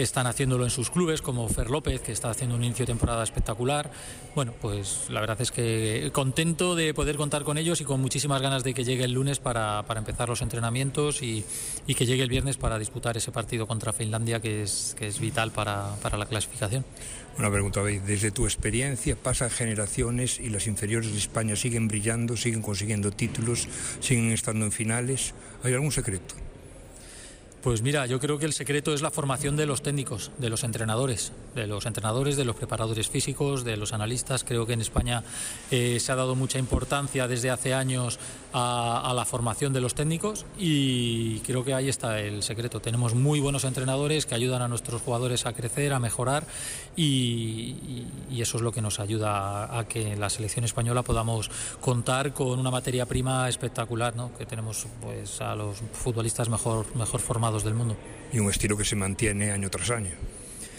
Están haciéndolo en sus clubes, como Fer López, que está haciendo un inicio de temporada espectacular. Bueno, pues la verdad es que contento de poder contar con ellos y con muchísimas ganas de que llegue el lunes para empezar los entrenamientos y que llegue el viernes para disputar ese partido contra Finlandia, que es vital para la clasificación. Una pregunta, desde tu experiencia, pasan generaciones y las inferiores de España siguen brillando, siguen consiguiendo títulos, siguen estando en finales. ¿Hay algún secreto? Pues mira, yo creo que el secreto es la formación de los técnicos, de los entrenadores, de los preparadores físicos, de los analistas. Creo que en España se ha dado mucha importancia desde hace años a la formación de los técnicos y creo que ahí está el secreto. Tenemos muy buenos entrenadores que ayudan a nuestros jugadores a crecer, a mejorar y eso es lo que nos ayuda a que en la selección española podamos contar con una materia prima espectacular, ¿no? Que tenemos pues a los futbolistas mejor formados del mundo. Y un estilo que se mantiene año tras año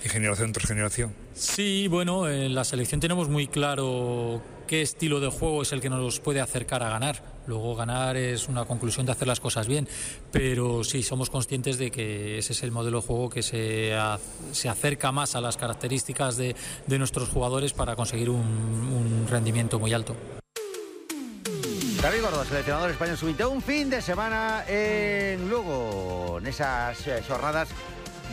y generación tras generación. Sí, bueno, en la selección tenemos muy claro qué estilo de juego es el que nos puede acercar a ganar. Luego ganar es una conclusión de hacer las cosas bien, pero sí, somos conscientes de que ese es el modelo de juego que se acerca más a las características de nuestros jugadores para conseguir un rendimiento muy alto. David Gordo, seleccionador español sub-20, un fin de semana en Lugo, nesas xornadas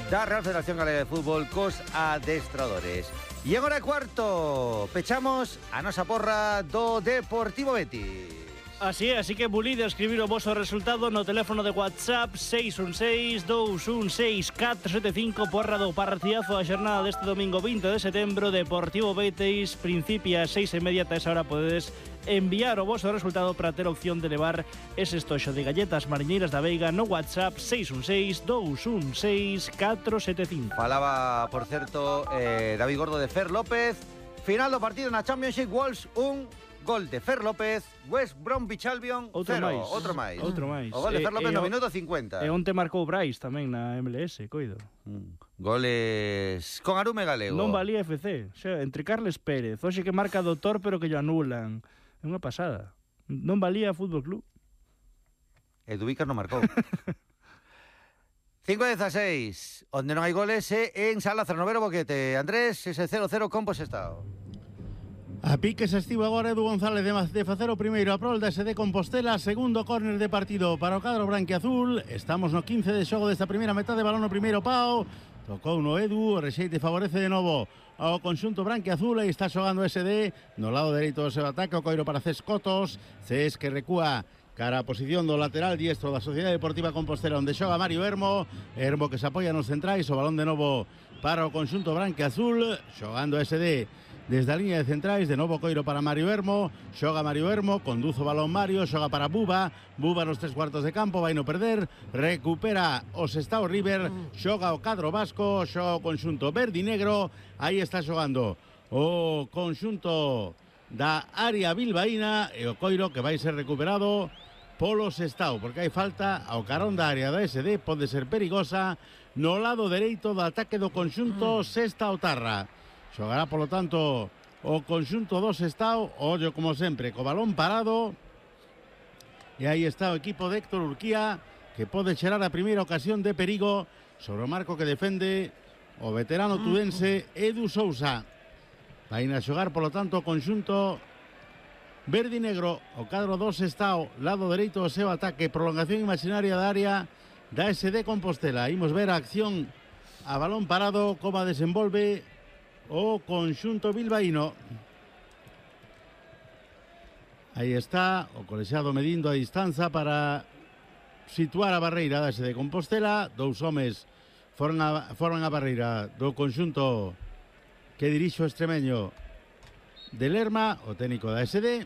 da Real Federación Galega de Fútbol cos adestradores. E agora cuarto, pechamos a nosa porra do Deportivo Betis. Así que bulide a escribir o voso resultado no teléfono de WhatsApp 616-216-475, porra do partidazo da xornada deste domingo 20 de setembro. Deportivo Betis principia a 6:30, a esa hora podedes enviar o voso resultado para ter opción de levar ese estoxo de galletas mariñeiras da Veiga no WhatsApp 616-216-475. Falaba, por certo, David Gordo de Fer López. Final do partido na Championship, Wolves 1, gol de Fer López, West Bromwich Albion 0. Outro máis. O gol de Fer López no minuto 50. E onte marcou Brais tamén na MLS, coido. Goles con Arume Galego. Non valía FC, xa, entre Carles Pérez, hoxe que marca doutor pero que lle anulan. É unha pasada. Non valía Fútbol Club. E Dubicas non marcou. 5-16, onde non hai goles é en Sala Cernovero Boquete. Andrés, ese 0-0 con Posestao. A pique se estivo agora Edu González de facer o primeiro a prol da SD Compostela, segundo córner de partido para o cadro branquiazul. Estamos no 15 de xogo desta primeira metade, balón no primeiro pau, tocou no Edu, o rexeite favorece de novo ao conxunto branquiazul e está xogando SD no lado dereito do seu ataque, o coiro para Cés Cotos, Cés que recúa cara a posición do lateral diestro da Sociedade Deportiva Compostela, onde xoga Mario Hermo que se apoia nos centrais, o balón de novo para o conxunto branquiazul, xogando SD desde a línea de centrais, de novo coiro para Mario Hermo, xoga Mario Hermo, conduzo o balón Mario, xoga para Buba nos 3 cuartos de campo, vai no perder, recupera o Sestao River, xoga o cadro vasco, xoga o conxunto verde e negro, aí está xogando o conxunto da área bilbaína e o coiro que vai ser recuperado polo Sestao, porque hai falta ao carón da área da SD, pode ser perigosa no lado dereito do ataque do conxunto Sestaotarra. Xogará, polo tanto, o conxunto do Sestao, ollo como sempre, co balón parado. E aí está o equipo de Héctor Urquía, que pode xerar a primeira ocasión de perigo sobre o marco que defende o veterano tudense Edu Sousa. Vai a xogar, polo tanto, o conxunto verde e negro, o cadro do Sestao, lado dereito do seu ataque, prolongación imaginaria da área da SD Compostela. Imos ver a acción a balón parado, como desenvolve o conxunto bilbaíno. Aí está o colexiado medindo a distanza para situar a barreira da SD Compostela. Dous homes foron a barreira do conxunto que dirixe o extremeño de Lerma, o técnico da SD.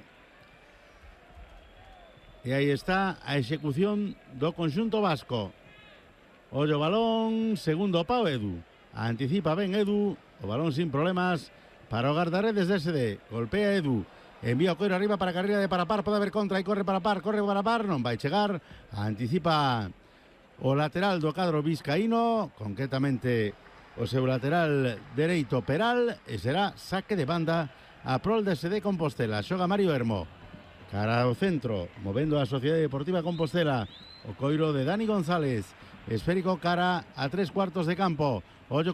E aí está a execución do conxunto vasco. Ollo balón, segundo pau Edu. Anticipa ben Edu, o balón sin problemas para o guardaredes de SD. Golpea Edu, envía o coiro arriba para a carreira de Parapar, pode haber contra e corre Parapar, non vai chegar. Anticipa o lateral do cadro vizcaíno, concretamente o seu lateral dereito Peral, e será saque de banda a prol de SD Compostela. Xoga Mario Hermo, cara ao centro, movendo a Sociedade Deportiva Compostela, o coiro de Dani González, esférico cara a 3 cuartos de campo. Ollo que